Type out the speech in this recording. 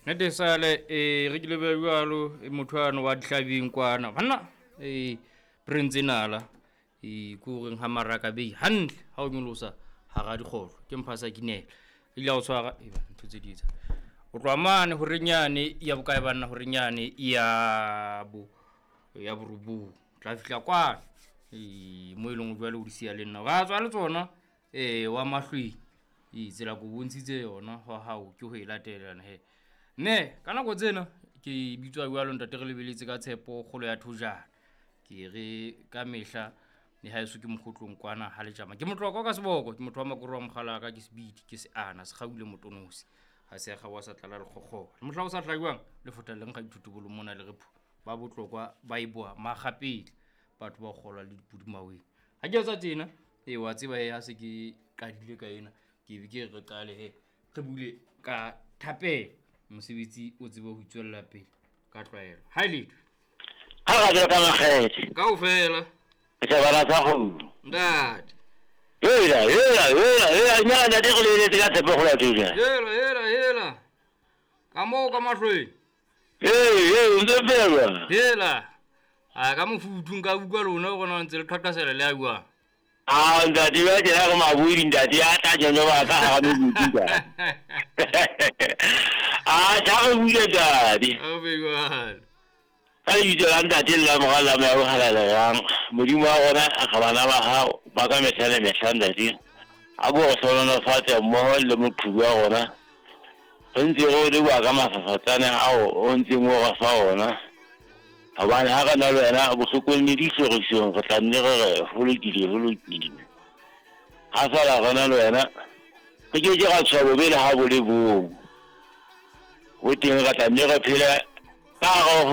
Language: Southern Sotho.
Nete sale e re ke lebe jwalo e motho ano wa dihlabeng kwana banna e prince nala e ko reng ha maraka bei hantle ha o nyolosa hara dikgohlo ke mpha sa kinela ile a o tshwara e ba ntho tse di etsa o tloha mane horenyane ya bokae banna horenyane ya bo ya borobong tla fihla kwana e mo e leng jwale o di siya le nna wa tswa le tsona e wa mahlweng e tsela ko bontshitse yona hwa hao ke ho e latelana he mme ka nako tsena ke bitswa jwalo ntate re lebeletse ka tshepo kgolo ya thojana ke re ka mehla le ha eso ke mokgotlong kwana ha letjama ke motlokwa ka seboko ke motho wa makoro wa mogalaka ke sebidi ke seana segaule motonosi ga se ga wa sa tlala lekgokgoba le mohla o sa tlajwang lefota leng ga dithotobolo mona le repho ba botlokwa ba e boa magapele batho ba golwa le dipudumaweng ga ke etsa tsena ee wa tseba e ha se ke qadile ka ena ke be ke re qale he re bule ka thapelo mosebetsi o tsebe ho itswella pele ka tlwaelo ha e letho Ha ra jwa ka makgethe. Kaofela. Sebana sa kgomo. Ntate. Hela, hela, hela, hela, nya ntate go leletse ka tshepo go la thusa. Hela, hela, hela. Ka moo ka mahlweng. Ee, ee, o ntse fela. Hela. A ka mofuthu nka utlwa lona gore na ntse le qhaqhasela le a buang. A ntate ba tjena re mabodi ntate ya tla jeno ba ka hara mebuti ka. A tla re bule ntate. A be jwalo. Ka lebitso la ntate le la mora le la moya o halalelang modimo wa rona a re bana ba hao ba ka mehla le mehla ntate a ko re hlohonolofatse mmoho le moqhubu wa rona re ntse re o leboha ka mafafatsane ao o ntseng o re fa ona hobane ha re na le wena bohlokong le dihlorisong re tla nne re re ho lokile ho lokile ha fela re na le wena re ke ke ra tshoha bobe le ha bo le bong ho teng re tla nne re phele ka hare ho.